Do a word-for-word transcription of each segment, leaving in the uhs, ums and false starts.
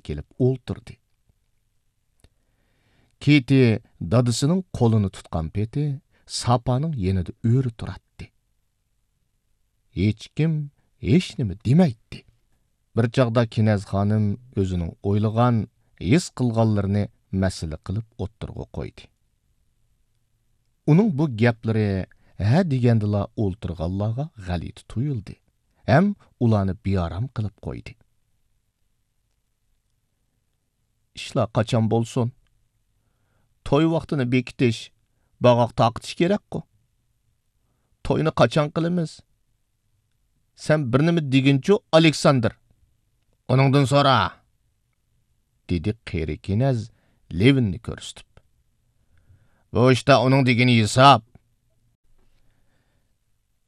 كېلىپ ئولتۇردى. كىتى دادىسىنىڭ قولىنى تۇتقان پېتى ساپانىڭ يېنىدا ئۆرە تۇراتتى. ھېچكىم ھېچنېمە دېمەيتتى. بىر چاغدا كېنەز خانىم ئۆزىنىڭ ئويلىغان، ھېس قىلغانلىرىنى مەسىلە قىلىپ ئوتتۇرىغا قويدى. ئۇنىڭ بۇ گەپلىرى ھە دېگەندىلا ئولتۇرغانلارغا غەلىتە تۇيۇلدى ھەم ئۇلارنى بىئارام قىلىپ قويدى. ئىشلار قاچان بولسۇن؟ توي ۋاقتىنى بېكىتىش، باغاق تارقىتىش كېرەكقۇ. توينى قاچان قىلىمىز؟ سەن بىر نېمە دېگىنچۇ، ئالېكساندىر؟ ئۇنىڭدىن سورا، دېدى قېرى كېنەز لېۋىننى كۆرسىتىپ. بۇ ئىشتا ئۇنىڭ دېگىنى ھېساب.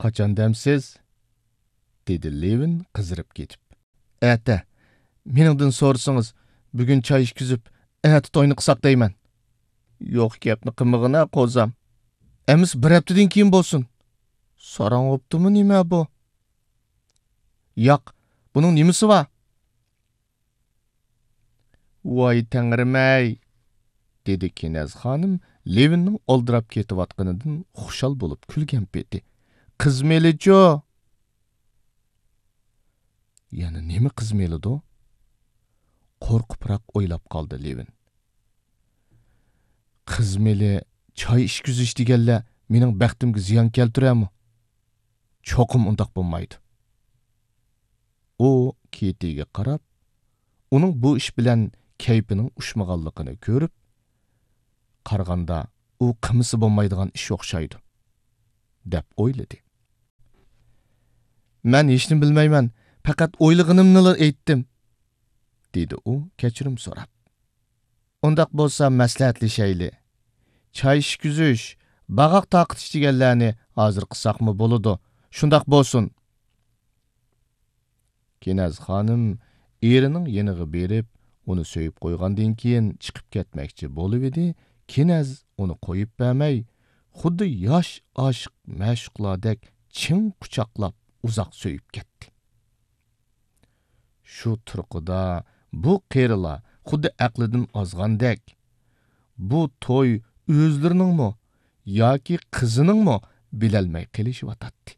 قاچان دەمسىز؟ دېدى لېۋىن قىزىرىپ كېتىپ. ئەتە. مېنىڭدىن سورىسىڭىز، بۈگۈن چاي ئىچكۈزۈپ، ئەتە توينى قىلساق دەيمەن. يوق گەپنى قىلمىغىنا، قوزام. ئەمىسە بىر ھەپتىدىن كېيىن بولسۇن. ساراڭ بوپتۇمۇ نېمە بۇ؟ ياق، بۇنىڭ نېمىسى بار؟ ۋاي تەڭرىمەي! دېدى كېنەز خانىم لېۋىننىڭ ئالدىراپ كېتىۋاتقىنىدىن خۇشال بولۇپ كۈلگەن پېتى. قىز مېلىچۇ؟ يەنە نېمە قىز مېلىدۇ؟ قورقۇپراق ئويلاپ قالدى لېۋىن. قىز مېلى، چاي ئىچكۈزۈش دېگەنلەر مېنىڭ بەختىمگە زىيان كەلتۈرەرمۇ؟ چوقۇم ئۇنداق بولمايدۇ. ئۇ كىتىگە قاراپ، ئۇنىڭ بۇ ئىش بىلەن كەيپىنىڭ ئۇشمىغانلىقىنى كۆرۈپ، قارىغاندا ئۇ قىلمىسا بولمايدىغان ئىش ئوخشايدۇ، دەپ ئويلىدى. مەن ھېچنېمە بىلمەيمەن، پەقەت ئويلىغىنىمنىلا ئېيتتىم، دېدى ئۇ كەچۈرۈم سوراپ. ئۇنداق بولسا مەسلىھەتلىشەيلى. چاي ئىچكۈزۈش، باغاق تارقىتىش دېگەنلەرنى ھازىر قىلساقمۇ بولىدۇ. شۇنداق بولسۇن. كېنەز خانىم ئېرىنىڭ يېنىغا بېرىپ، ئۇنى سۆيۈپ قويغاندىن كېيىن چىقىپ كەتمەكچى بولۇۋىدى، كېنەز ئۇنى قويۇپ بەرمەي، خۇددى ياش ئاشىق مەشۇقلاردەك چىڭ قۇچاقلاپ ئۇزاق سۆيۈپ كەتتى. شۇ تۇرقىدا بۇ قېرىلار خۇددى ئەقلىدىن ئازغاندەك، بۇ توي ئۆزلىرىنىڭمۇ ياكى قىزىنىڭمۇ بىلەلمەي قېلىشىۋاتاتتى.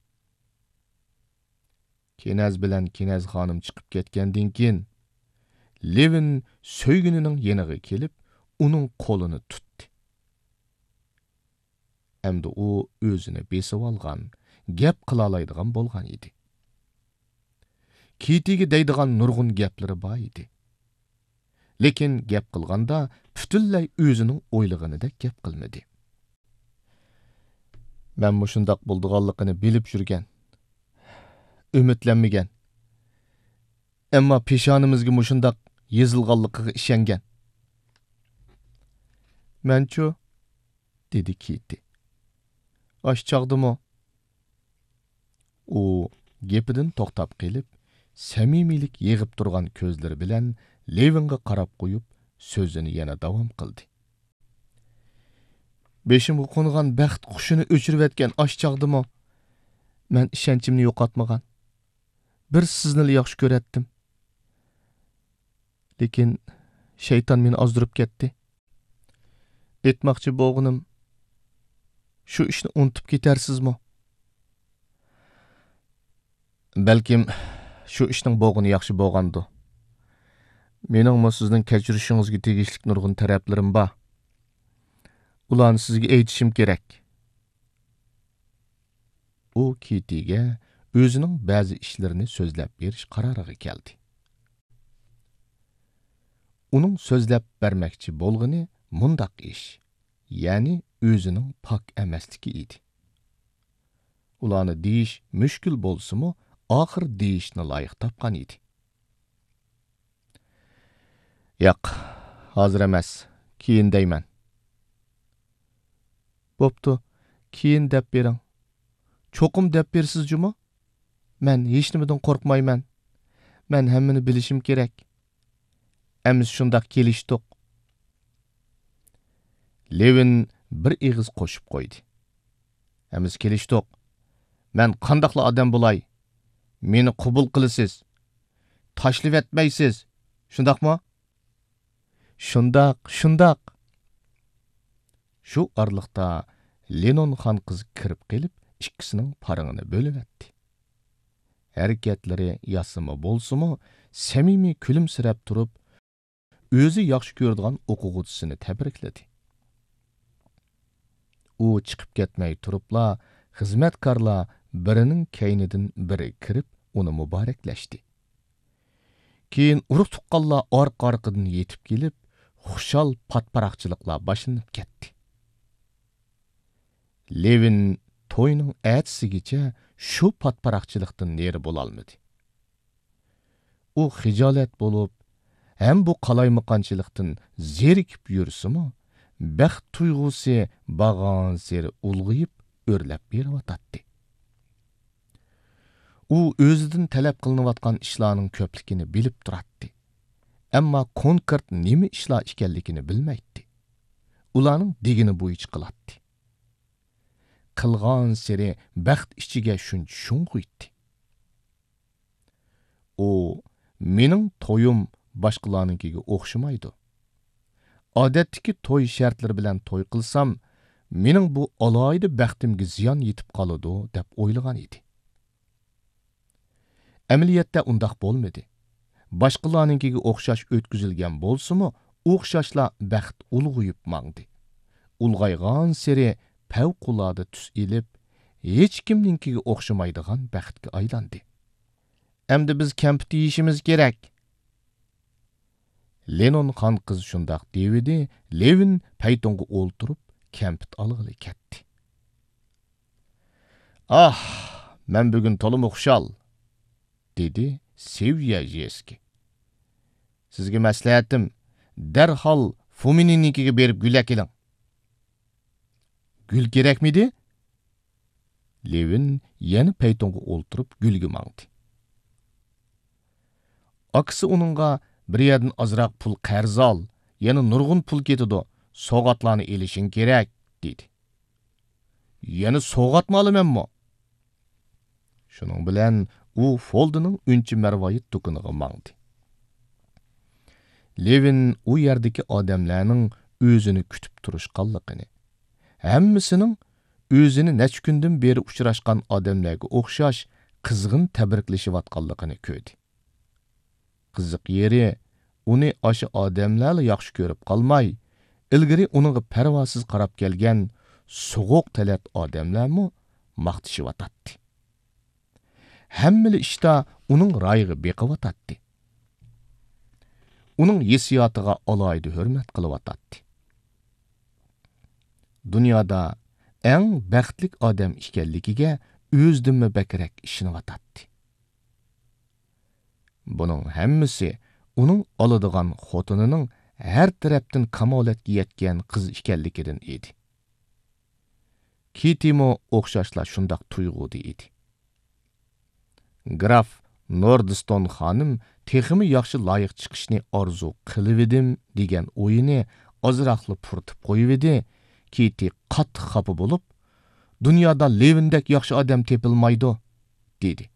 كېنەز بىلەن كېنەز خانىم چىقىپ كەتكەندىن كېيىن، لېۋىن سۆيگىنىنىڭ يېنىغا كېلىپ، ئۇنىڭ قولىنى تۇتتى. ئەمدى ئۇ ئۆزىنى بېسىۋالغان، گەپ قىلالايدىغان بولغان ئىدى. كىتىگە دەيدىغان نۇرغۇن گەپلىرى بار ئىدى. لېكىن گەپ قىلغاندا پۈتۈنلەي ئۆزىنىڭ ئويلىغىنىدەك گەپ قىلمىدى. مەن مۇشۇنداق بولىدىغانلىقىنى بىلىپ يۈرگەن، ئۈمىدلەنمىگەن. ئەمما پېشانىمىزگە مۇشۇنداق يېزىلغانلىقىغا ئىشەنگەن. مەنچۇ؟ دېدى كىتى. ئاشۇ چاغدىمۇ؟ ئۇ گېپىدىن توختاپ قېلىپ، سەمىمىيلىك يېغىپ تۇرغان كۆزلىرى بىلەن لېۋىنغا قاراپ قويۇپ، سۆزىنى يەنە داۋام قىلدى. بېشىمغا قونغان بەخت قۇشىنى ئۆچۈرۈۋەتكەن ئاشۇ چاغدىمۇ مەن ئىشەنچىمنى يوقاتمىغان. بىر سىزنىلا ياخشى كۆرەتتىم. لېكىن شەيتان مېنى ئازدۇرۇپ كەتتى. ئېيتماقچى بولغىنىم، شۇ ئىشنى ئۇنتۇپ كېتەرسىزمۇ؟ بەلكىم شۇ ئىشنىڭ بولغىنى ياخشى بولغاندۇ. مېنىڭمۇ سىزنىڭ كەچۈرۈشىڭىزگە تېگىشلىك نۇرغۇن تەرەپلىرىم بار. ئۇلارنى سىزگە ئېيتىشىم كېرەك. ئۇ كىتىگە ئۆزىنىڭ بەزى ئىشلىرىنى سۆزلەپ بېرىش قارارىغا كەلدى. ئۇنىڭ سۆزلەپ بەرمەكچى بولغىنى مۇنداق ئىش، يەنى ئۆزىنىڭ پاك ئەمەسلىكى ئىدى. ئۇلارنى دېيىش مۈشكۈل بولسىمۇ، ئاخىر دېيىشنى لايىق تاپقان ئىدى. ياق، ھازىر ئەمەس، كېيىن دەيمەن. بوپتۇ، كېيىن دەپ بېرىڭ. چوقۇم دەپ بېرىسىز جۇمۇ؟ مەن ھېچنېمىدىن قورقمايمەن. مەن ھەممىنى بىلىشىم كېرەك. ئەمىسە شۇنداق كېلىشتۇق. لېۋىن بىر ئېغىز قوشۇپ قويدى. ئەمىسە كېلىشتۇق. مەن قانداقلا ئادەم بولاي، مېنى قوبۇل قىلىسىز. تاشلىۋەتمەيسىز. شۇنداقمۇ؟ شۇنداق، شۇنداق! شۇ ئارىلىقتا لېنون خانقىز كىرىپ قېلىپ، ئىككىسىنىڭ پارىڭىنى بۆلۈۋەتتى. ھەرىكەتلىرى ياسىما بولسىمۇ، سەمىمىي كۈلۈمسىرەپ تۇرۇپ، ئۆزى ياخشى كۆرىدىغان ئوقۇغۇچىسىنى تەبرىكلىدى. ئۇ چىقىپ كەتمەي تۇرۇپلا، خىزمەتكارلار بىرىنىڭ كەينىدىن بىرى كىرىپ، ئۇنى مۇبارەكلەشتى. كېيىن ئۇرۇق-تۇغقانلار ئارقا-ئارقىدىن يېتىپ كېلىپ، خۇشال پاتپاراقچىلىقلار باشلىنىپ كەتتى. لېۋىن توينىڭ ئەتىسىگىچە شۇ پاتپاراقچىلىقتىن نېرى بولالمىدى. ئۇ خىجالەت بولۇپ، ھەم بۇ قالايمىقانچىلىقتىن زېرىكىپ يۈرسىمۇ، بەخت تۇيغۇسى بارغانسېرى ئۇلغىيىپ ئۆرلەپ بېرىۋاتاتتى. ئۇ ئۆزىدىن تەلەپ قىلىنىۋاتقان ئىشلارنىڭ كۆپلۈكىنى بىلىپ تۇراتتى. ئەمما كونكرېت نېمە ئىشلار ئىكەنلىكىنى بىلمەيتتى. ئۇلارنىڭ دېگىنى بويىچە قىلاتتى. قىلغانسېرى بەخت ئىچىگە شۇنچە شۇڭغۇيتتى. ئۇ، «مېنىڭ تويۇم باشقىلارنىڭكىگە ئوخشىمايدۇ. ئادەتتىكى توي شەرتلىرى بىلەن توي قىلسام، مېنىڭ بۇ ئالاھىدە بەختىمگە زىيان يېتىپ قالىدۇ» دەپ ئويلىغان ئىدى. ئەمەلىيەتتە ئۇنداق بولمىدى. باشقىلارنىڭكىگە ئوخشاش ئۆتكۈزۈلگەن بولسىمۇ، ئوخشاشلا بەخت ئۇلغىيىپ ماڭدى. ئۇلغايغانسېرى پەۋقۇلئاددە تۈس ئېلىپ، ھېچكىمنىڭكىگە ئوخشىمايدىغان بەختكە ئايلاندى. «ئەمدى بىز كەمپۈت يېيىشىمىز كېرەك.» لېنون خانقىز شۇنداق دېۋىدى، لېۋىن پەيتۇنغا ئولتۇرۇپ، كەمپۈت ئالغىلى كەتتى. «ئاھ، مەن بۈگۈن تولىمۇ خۇشال!» دېدى سېۋيەژېسكى. «سىزگە مەسلىھەتىم، دەرھال فۇمىننىڭكىگە بېرىپ گۈل ئەكېلىڭ.» «گۈل كېرەكمىدى؟» لېۋىن يەنە پەيتۇنغا ئولتۇرۇپ گۈلگە ماڭدى. ئاكىسى ئۇنىڭغا، «بىر يەردىن ئازراق پۇل قەرز ئال، يەنە نۇرغۇن پۇل كېتىدۇ، سوۋغاتلارنى ئېلىشىڭ كېرەك» دېدى. «يەنە سوۋغاتمۇ ئالىمەنمۇ؟» شۇنىڭ بىلەن ئۇ فولدىنىڭ ئۈنچە مەرۋايىت دۇكىنىغا ماڭدى. لېۋىن ئۇ يەردىكى ئادەملەرنىڭ ئۆزىنى كۈتۈپ تۇرۇشقانلىقىنى، ھەممىسىنىڭ ئۆزىنى نەچچە كۈندىن بېرى ئۇچراشقان ئادەملەرگە ئوخشاش قىزغىن تەبرىكلىشىۋاتقانلىقىنى كۆردى. قىزىق يېرى، ئۇنى ئاشۇ ئادەملەرلا ياخشى كۆرۈپ قالماي، ئىلگىرى ئۇنىڭغا پەرۋاسىز قاراپ كەلگەن سوغۇق تەلەت ئادەملەرمۇ ماختىشىۋاتاتتى. ھەممىلا ئىشتا ئۇنىڭ رايىغا بېقىۋاتاتتى. ئۇنىڭ ھېسسىياتىغا ئالاھىدە ھۆرمەت قىلىۋاتاتتى. دۇنيادا ئەڭ بەختلىك ئادەم ئىكەنلىكىگە ئۆزىدىنمۇ بەكرەك ئىشىنىۋاتاتتى. بۇنىڭ ھەممىسى ئۇنىڭ ئالىدىغان خوتۇنىنىڭ ھەر تەرەپتىن كامالەتكە يەتكەن قىز ئىكەنلىكىدىن ئىدى. كىتىمۇ ئوخشاشلا شۇنداق تۇيغۇدا ئىدى. گراف نوردستون خانىم تېخىمۇ ياخشى لايىق چىقىشنى ئارزۇ قىلىۋىدىم دېگەن ئويىنى ئازراقلا پۇرىتىپ قويۇۋىدى، كىتى قاتتىق خاپا بولۇپ، «دۇنيادا لېۋىندەك ياخشى ئادەم تېپىلمايدۇ» دېدى.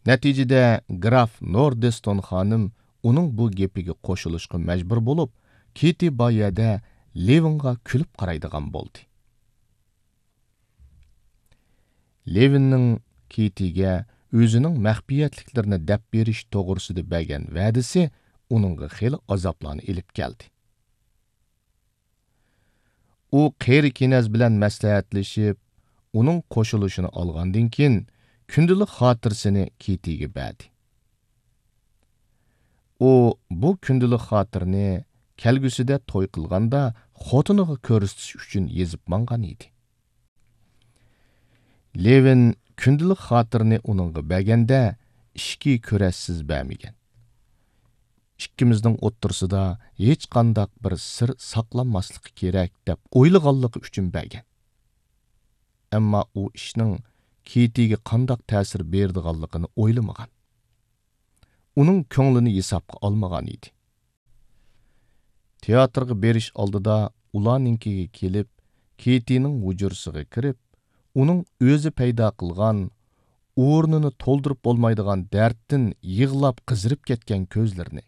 نەتىجىدە گراف نوردستون خانىم ئۇنىڭ بۇ گېپىگە قوشۇلۇشقا مەجبۇر بولۇپ، كىتى بار يەردە لېۋىنغا كۈلۈپ قارايدىغان بولدى. لېۋىننىڭ كىتىگە ئۆزىنىڭ مەخپىيەتلىكلىرىنى دەپ بېرىش توغرىسىدا بەرگەن ۋەدىسى ئۇنىڭغا خېلى ئازابلارنى ئېلىپ كەلدى. ئۇ قېرى كېنەز بىلەن مەسلىھەتلىشىپ، ئۇنىڭ قوشۇلۇشىنى ئالغاندىن كېيىن، كۈندىلىك خاتىرىسىنى كىتىگە بەردى. ئۇ بۇ كۈندىلىك خاتىرىنى كەلگۈسىدە توي قىلغاندا خوتۇنىغا كۆرسىتىش ئۈچۈن يېزىپ ماڭغان ئىدى. لېۋىن كۈندىلىك خاتىرىنى ئۇنىڭغا بەرگەندە، ئىچكى كۈرەشسىز بەرمىگەن. «ئىككىمىزنىڭ ئوتتۇرىسىدا ھېچقانداق بىر سىر ساقلانماسلىقى كېرەك» دەپ ئويلىغانلىقى ئۈچۈن بەرگەن. ئەمما ئۇ ئىشنىڭ كىتىگە قانداق تەسىر بېرىدىغانلىقىنى ئويلىمىغان. ئۇنىڭ كۆڭلىنى ھېسابقا ئالمىغان ئىدى. تىياتىرغا بېرىش ئالدىدا ئۇلارنىڭكىگە كېلىپ، كىتىنىڭ ھۇجرىسىغا كىرىپ، ئۇنىڭ ئۆزى پەيدا قىلغان، ئورنىنى تولدۇرۇپ بولمايدىغان دەردتىن يىغلاپ قىزىرىپ كەتكەن كۆزلىرىنى،